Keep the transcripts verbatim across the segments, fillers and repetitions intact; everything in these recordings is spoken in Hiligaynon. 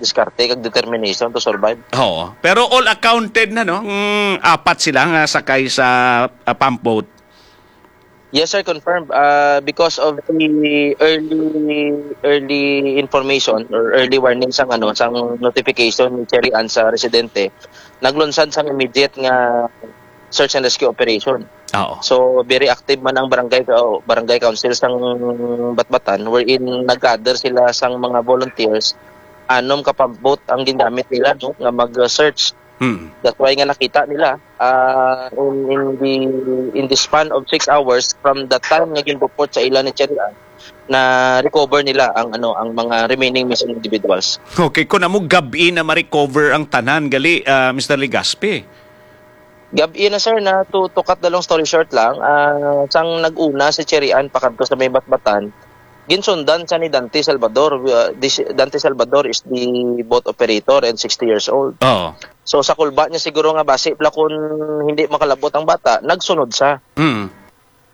diskarte kag determination to survive. Oo. Pero all accounted na, no? Mm, apat sila nga sakay sa, ah, pump boat. Yes, sir, confirmed. Ah, because of the early early information or early warning sang, ano, sang notification ni Cherry Ann sa residente, naglunsad sang immediate nga search and rescue operation. Oo. So, very active man ang barangay ka-, barangay council sang Batbatan, wherein nag-gather sila sang mga volunteers, anom ka pump boat ang gingamit nila, no, nga mag-search. Hmm. That's why nga nakita nila, ah, in, in the, in the span of six hours from the time nga gin-report sa ila ni Cherry Ann, na-recover nila ang, ano, ang mga remaining missing individuals. Okay, kung amo gab-i na ma-recover ang tanan, gali, ah, Mister Legaspi? Gab-i na, sir, na to, to cut the long story short lang, ah, sang nag-una si Cherry Ann pakadto sa may Batbatan, ginsundan siya ni Dante Salvador. Uh, this, Dante Salvador is the boat operator and sixty years old. Oo. So, sa kulba niya siguro nga basi pala kung hindi makalabot ang bata, nagsunod siya. Mm.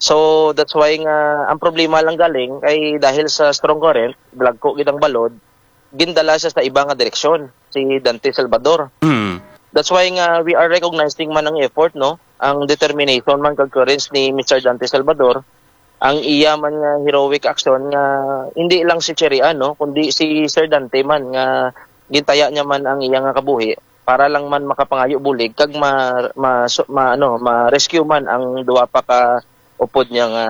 So, that's why nga ang problema lang galing kay dahil sa strong current, blagko gid ang balod, gindala siya sa iba nga direksyon, si Dante Salvador. Mm. That's why nga we are recognizing man ang effort, no? Ang determination man kag courage ni Mister Dante Salvador, ang iya man nga heroic action nga hindi lang si Cherry Ann, no, kundi si Sir Dante man nga gintaya niya man ang iya nga kabuhi para lang man makapangayo bulig kag ma, ma, ma, ano, ma-rescue man ang duha pa ka upod niya nga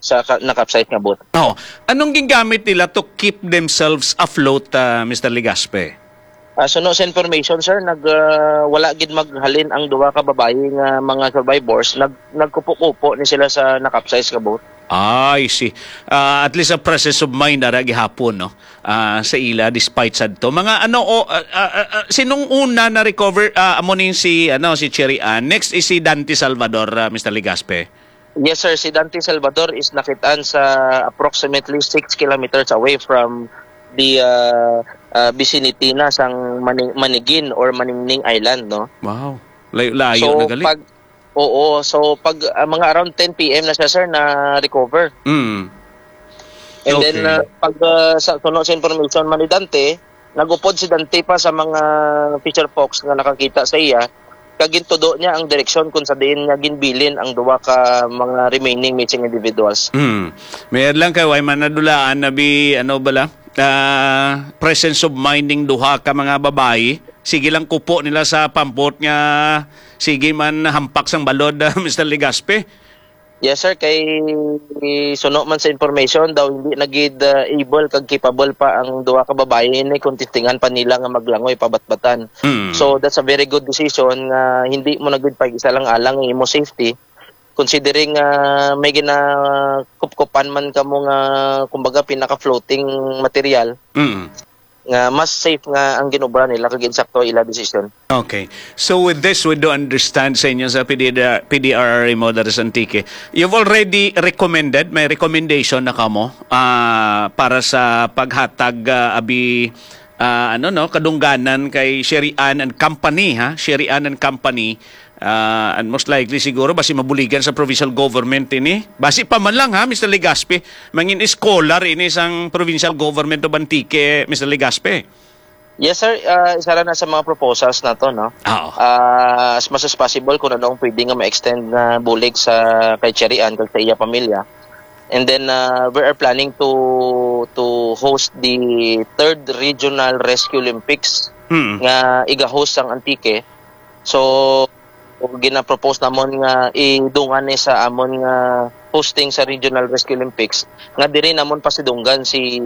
sa ka, na-capsize nga boat. Oh, anong gingamit nila to keep themselves afloat, ah, Mister Legaspi? Ah, suno sa information, sir, nag, ah, wala gid maghalin ang duha ka babayi nga mga survivors. Nag, nagkupo-kupo ni sila sa na-capsize nga boat. Ah, I see. Ah, at least a presence of mind ara gihapon, no? Ah, sa ila despite sad to. Mga ano, o, ah, ah, ah, ah, sinong una na-recover? Ah, amo ning si, ano, si Cherry Ann. Next is si Dante Salvador, ah, Mister Legaspi. Yes, sir. Si Dante Salvador is nakitaan sa approximately six kilometers away from the, uh, uh, vicinity na sang Mani-, Manigin or Maningning Island, no? Wow. Layo-layo So, na gali. Pag, oo. So, pag, uh, mga around ten P M na siya, sir, na-recover. Mm. And then, Okay. uh, pag, uh, sa, suno sa information man ni Dante, nagupod si Dante pa sa mga fisher folks nga nakakita sa iya, kag gintudo niya ang direksyon kung sa diin niya ginbilin ang duha ka mga remaining missing individuals. Hmm. Mayad lang kay way man nadulaan na bi, ano bala, ah, presence of mind ning duha ka mga babayi. Sige lang kupo nila sa pampot nga sige man hampak sang balod, Mister Legaspi. Yes, sir. Kay suno man sa information daw, hindi na gid, ah, able kag capable pa ang duha ka babayi ni kung testingan pa nila nga maglangoy pabatbatan. Mm. So, that's a very good decision nga hindi mo na gid pag-isa lang alang ang imo safety, considering, ah, may ginakupkupan man kamo nga, kumbaga, pinaka-floating material. Mm. Nga mas safe nga ang ginobra nila kag insakto ila desisyon. Okay. So with this, we do understand sa inyo sa P D R, P D R R M o diri sa Antique. You've already recommended, may recommendation na kamo, ah, para sa paghatag, ah, abi, ah, ano, no, kadungganan kay Sherry Ann and Company, ha? Sherry Ann and Company. Ah, and most likely siguro basi mabuligan sa provincial government ini. Basi pa man lang, ha, Mister Legaspi, mangin scholar ini sang provincial government of Antique, Mister Legaspi. Yes, sir. Ah, isa ra na sa mga proposals nato, no? Oo. Ah, as much as possible, kung ano ang pwede nga ma-extend na bulig sa kay Cherry Ann kag sa iya pamilya. And then, ah, we are planning to to host the third Regional Rescue Olympics Mm. nga iga-host sang Antique. So, ginapropose namon nga idungan ni sa amon nga hosting sa Regional Rescue Olympics, nga diri namon pasidunggan si,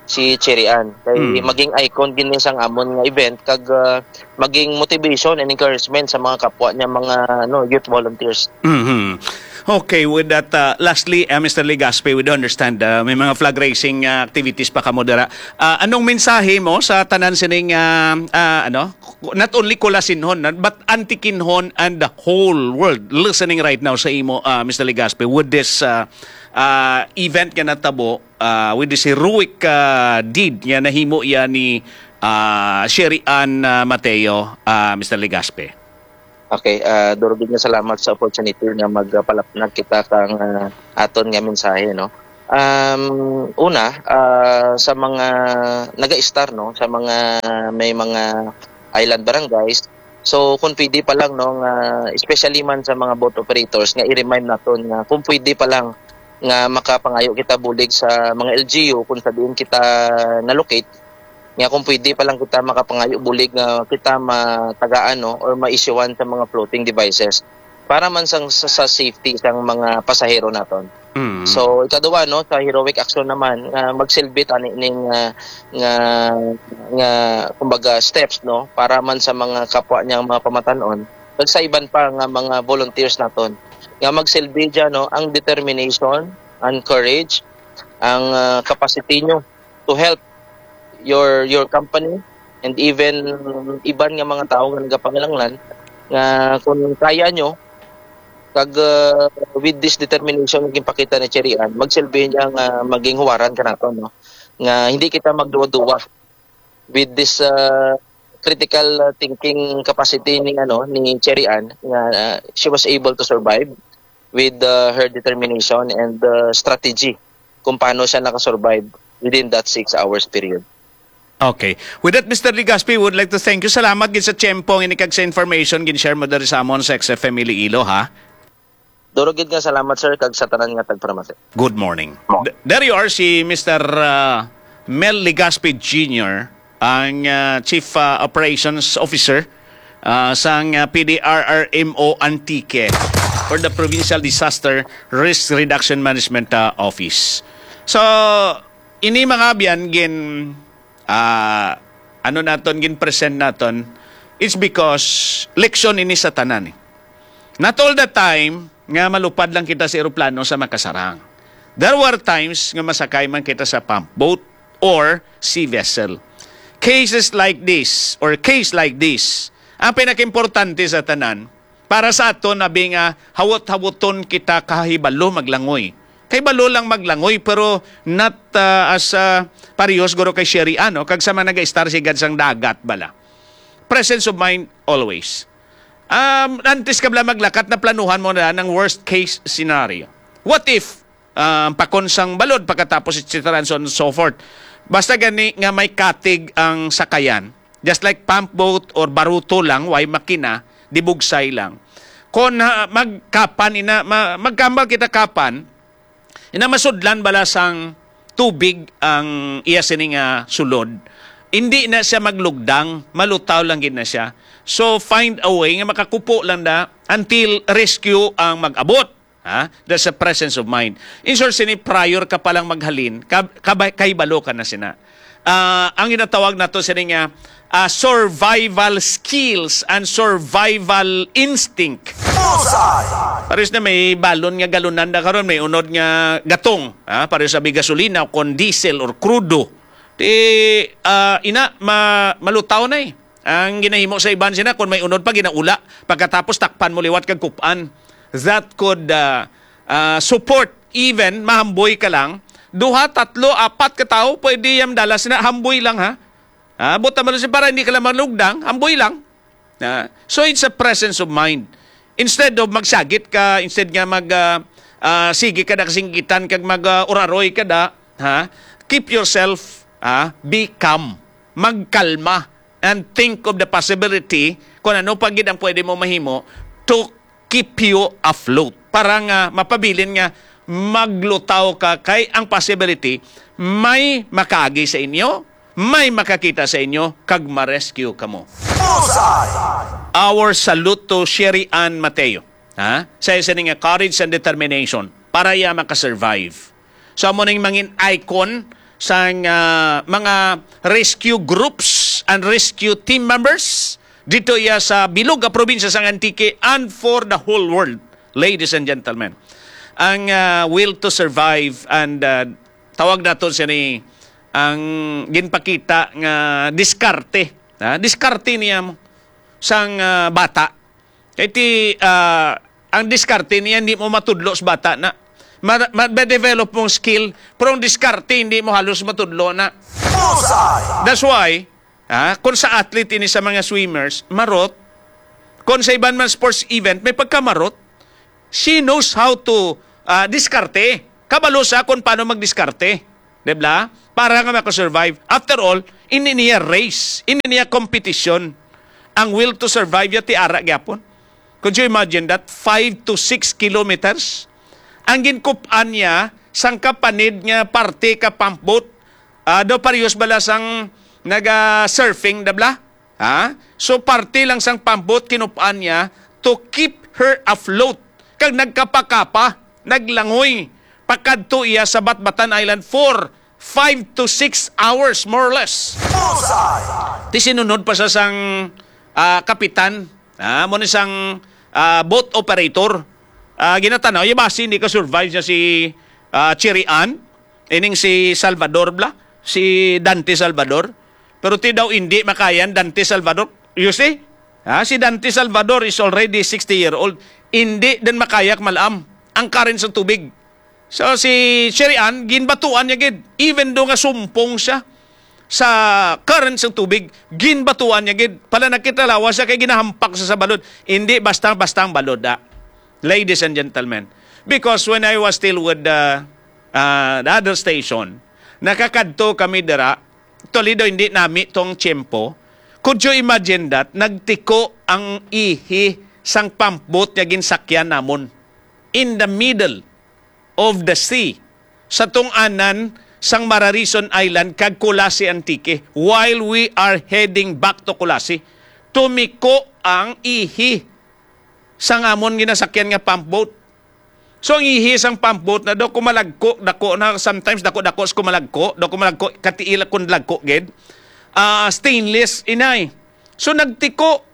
si Cherry Ann. Kay Mm. maging icon gid ni sang amon nga event, kag, ah, maging motivation and encouragement sa mga kapwa niya mga, ano, youth volunteers. Mhm. Okay, with that, ah, lastly, ah, Mister Legaspi, we do understand, ah, may mga flag raising, ah, activities pa kamo dira. Ah, anong mensahe mo sa tanan sining, ah, ah, ano, not only Colasinhon, but Antiqueñhon and the whole world listening right now sa imo, ah, Mister Legaspi, with this, ah, ah, event nga natabo, ah, with this heroic, ah, deed nga nahimo ya ni, ah, Sherry Ann, ah, Mateo, ah, Mister Legaspi? Okay, ah, duro gid nga salamat sa opportunity nga magpalapnag kita kang, ah, aton nga mensahe, no? Um, una, ah, sa mga naga-star, no, sa mga may mga island barangays. So, kung pwede pa lang, no, nga especially man sa mga boat operators, nga i-remind naton nga kung pwede pa lang nga makapangayo kita bulig sa mga L G U kung sa diin kita na-locate, nga kung pwede pa lang kita makapangayo bulig nga kita matagaan, no, or ma-issuehan sa mga floating devices para man sang, sa, sa safety sang mga pasahero naton. Mm. So, ikaduha, no, sa heroic action naman, nga magsilbi tani ning, ah, nga, nga, kumbaga, steps, no, para man sa mga kapwa niyang mga pamatan-on, kag sa iban pa nga mga volunteers naton, nga magsilbi dyan, no, ang determination, ang courage, ang, ah, capacity nyo to help your, your company, and even iban nga mga tawo nga nagapanginahanglan, nga kung kaya nyo, kag, uh, with this determination nga ginpakita ni Cherry Ann, magsilbi niya nga maging huwaran ka nato, no? Nga hindi kita magduwa-duwa with this, uh, critical, uh, thinking capacity ni, ano, ni Cherry Ann, nga, uh, she was able to survive with, uh, her determination and, uh, strategy kung paano siya nakasurvive within that six hours period. Okay. With that, Mister Legaspi, would like to thank you. Salamat gid sa tiyempo nga ini kag sa information gin-share mo diri sa amon sa X F M Iloilo, ha? Duro gid nga salamat, sir, kag sa tanan nga tagparamati. Good morning. Mo- D- there you are, si Mister, uh, Mel Legaspi Junior, ang, uh, Chief, uh, Operations Officer, uh, sang, uh, P D R R M O Antique or the Provincial Disaster Risk Reduction Management, uh, Office. So, ini, mga abyan, gin, ah, ano naton, gin-present naton, it's because leksyon ini sa tanan, eh. Not all the time nga malupad lang kita sa eroplano sa makasarang. There were times nga masakay man kita sa pump boat or sea vessel. Cases like this or case like this, ang pinakaimportante sa tanan, para sa aton, abi nga hawot-hawoton kita kahibalo maglangoy. Kahibalo lang maglangoy, pero not, ah, as, ah, parehos guro kay Sherry Ann, no? Kag sa mga nag-star sigad sang dagat bala. Presence of mind always. Um, antes ka bala maglakat, naplanuhan mo na ang worst case scenario. What if, um, pakon sang balod pagkatapos, et cetera, and so on and so forth. Basta gani nga may katig ang sakayan, just like pump boat or baruto lang, way makina, dibugsay lang. Kon, ah, magkapan ina, ma-, magkambal kita kapan, ina masudlan bala sang tubig ang iya sini nga sulod. Hindi na siya maglugdang, malutaw lang gid na siya. So, find a way nga makakupo lang na until rescue ang mag-abot. Ha? That's a presence of mind. In short, sini prior ka palang maghalin, kab-, kabay-, kahibalo ka na sina. Ah, ang ginatawag nato sini nga, ah, survival skills and survival instinct. Bullseye! Pares na may balon nga galunan na karon, may unod nga gatong, ha? Pares sa may gasolina o kon diesel or crudo. Di, ah, ina, ma-, malutaw na, eh. Ang ginahimo sa iban sina, kung may unod pa, ginaula. Pagkatapos, takpan mo liwat kag kup-an. That could, ah, ah, support, even mahamboy ka lang. Duha, tatlo, apat ka tawo, pwede yan dala sina, hamboy lang, ha? Ah, buta mo lang siya para hindi ka lang malugdang, hamboy lang. Ah, so, it's a presence of mind. Instead of magsagit ka, instead nga mag, ah, ah, sige ka na kasinggitan kag mag, ah, uraroy ka da, ha? Keep yourself, ah, be calm. Magkalma and think of the possibility kung ano pa gid ang pwede mo mahimo to keep you afloat. Para nga mapabilin nga maglutaw ka, kay ang possibility may makaagi sa inyo, may makakita sa inyo, kag ma-rescue kamo. Bullseye! Our salute to Sherry Ann Mateo, ha? Sa isa ni nga courage and determination para iya maka-survive. So, amo ning mangin icon sang, ah, mga rescue groups and rescue team members dito iya sa bilog nga probinsya sang Antique and for the whole world, ladies and gentlemen. Ang, ah, will to survive and, ah, tawag naton siya ni ang ginpakita nga diskarte, ha? Diskarte niya mo sang, ah, bata. Kay ti, ah, ang diskarte niya hindi mo matudlo sa bata na. Ma-, ma-, ma-develop mong skill, pero ang diskarte hindi mo halos matudlo na. Bullseye! That's why, ah, kung sa athlete ini sa mga swimmers, marot. Kung sa iban man sports event, may pagkamarot. She knows how to, ah, diskarte. Kabalo sa kung paano magdiskarte, di ba? Para nga makasurvive. After all, ini niya race, ini niya competition. Ang will to survive ya ti ara gyapon. Could you imagine that? Five to six kilometers. Ang ginkup-an niya, sang kapanid nga parte ka pump boat, ah, daw parehas bala sang naga-surfing, da bala? Ha? So, parte lang sang pump boat, kinup-an niya to keep her afloat. Kag nagkapakapa, naglangoy, pakadto iya sa Batbatan Island for five to six hours, more or less. Bullseye! Ti sinunod pa sa sang, ah, kapitan, ah, mo ni sang, ah, boat operator. Ah, ginatanaw, iya basi hindi ka survive siya si, ah, Cherry Ann. Ining si Salvador bala, si Dante Salvador. Pero ti daw hindi makayan Dante Salvador. You see? Ha? Si Dante Salvador is already sixty year old. Hindi din makayak malam ang current sa tubig. So si Sherry Ann, ginbatuan niya gid. Even do nga sumpong siya sa current sa tubig, ginbatuan niya gid. Pala nakita lawas siya kay ginahampak sa, sa balod. Hindi basta-basta ang balod, ah. Ladies and gentlemen. Because when I was still with the, ah, the other station, nakakadto kami dira, Toledo, hindi nami tong tiyempo. Could you imagine that? Nagtiko ang ihi sang pump boat nga ginsakyan namon in the middle of the sea sa tungtungnan sang Mararison Island kag Culasi, Antique, while we are heading back to Culasi. Tumiko ang ihi sang amon ginasakyan nga pump boat. So, ang ihi sang pump boat na daw kumalagko, dako na, sometimes dako-dako sa kumalagko, daw kumalagko, katiil kun lagko gid. Ah, stainless inay. So, nagtiko.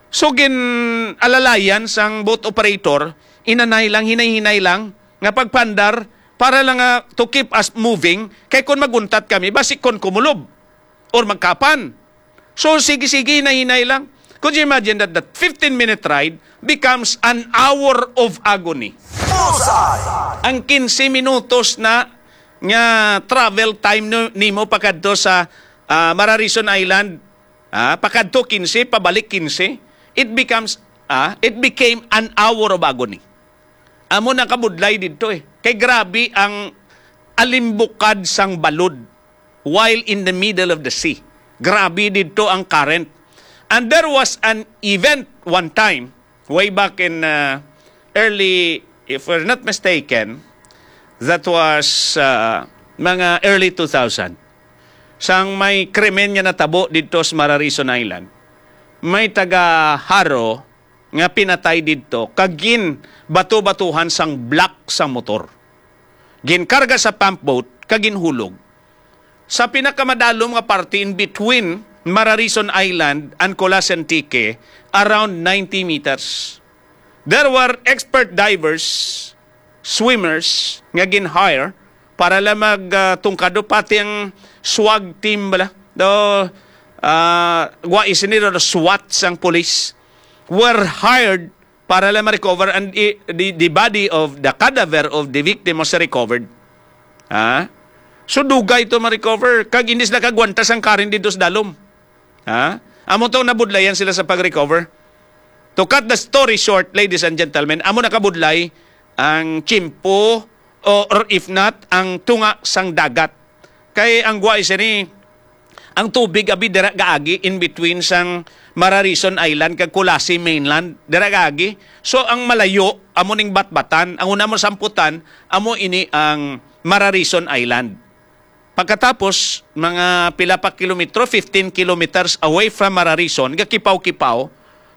So, gin-alalayan sang boat operator, inanay lang, hinay-hinay lang, nga pagpandar, para lang nga to keep us moving, kay kung maguntat kami, basi kon kumulob or magkapan. So, sige-sige, hinay-hinay lang. Could you imagine that that fifteen minute ride becomes an hour of agony? Bullseye! Ang quince minutos na nga travel time no, nimo pakadto sa, ah, Mararison Island, ah, pakadto quince, pabalik quince, it becomes, ah, it became an hour of agony. Amo na kabudlay didto, eh. Kay grabe ang alimbukad sang balod while in the middle of the sea. Grabe didto ang current. And there was an event one time, way back in, uh, early, if we're not mistaken, that was, uh, mga early two thousand. Sang may krimen nga natabo didto sa Mararison Island, may taga Jaro nga pinatay didto kag ginbato-batuhan sang block sang motor. Ginkarga sa pump boat kag ginhulog sa pinakamadalom nga parte in between Mararison Island and Culasi, Antique, around ninety meters. There were expert divers, swimmers nga gin-hire para lang mag, ah, tungkado, pati ang swag team bala. Do, ah, wa isini do SWAT sang police were hired para lang ma-recover and i-, the, the body of the cadaver of the victim was recovered. Ha? So dugay to ma-recover. Kag hindi sila kagwanta sang karin dito sa dalom. Ha? Amo to nabudlayan sila sa pag-recover. To cut the story short, ladies and gentlemen, amo nakabudlay ang tiyempo o, or if not, ang tunga sang dagat. Kay ang guwa sini, ang tubig abi dira gaagi in between sang Mararison Island kag Culasi mainland, dira gaagi. So ang malayo amo ning Batbatan, ang una mo samputan amo ini ang Mararison Island. Pagkatapos, mga pila pa kilometro, fifteen kilometers away from Mararison, gakipaw-kipaw,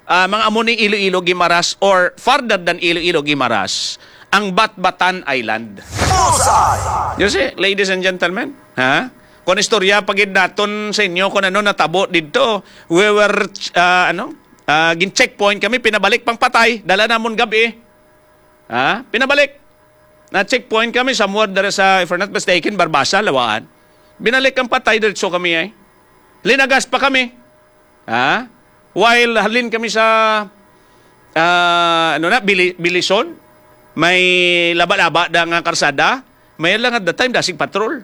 ah, mga amo ni Iloilo Guimaras or farther than Iloilo Guimaras, ang Batbatan Island. Bullseye! You see, ladies and gentlemen, ha? Kung istorya pa gid naton sa inyo kung ano natabo didto, we were, ah, ano, ah, gin-checkpoint kami, pinabalik pang patay, dala namon gabi. Ha? Pinabalik. Na-checkpoint kami somewhere dere sa, if I'm not mistaken, Barbaza, Lawaan. Binalik ang patay, diretso kami ay. Linagas pa kami. Ha? While halin kami sa, ah, ano na, Bili-, Bilison, may laba-laba da nga karsada, may lang at the time, dasig patrol.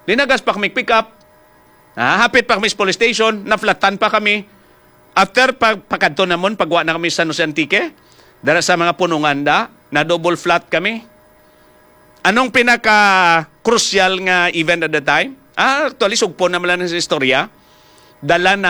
Linagas pa kami pick up. Ah, hapit pa kami sa police station, naflatan pa kami. After pa, pakadto namon, pagwa na kami sa San Jose Antique, dara sa mga punungan da, na double flat kami. Anong pinaka-crucial nga event at the time? Ah, actually, sugpo naman lang sa istorya. Dala na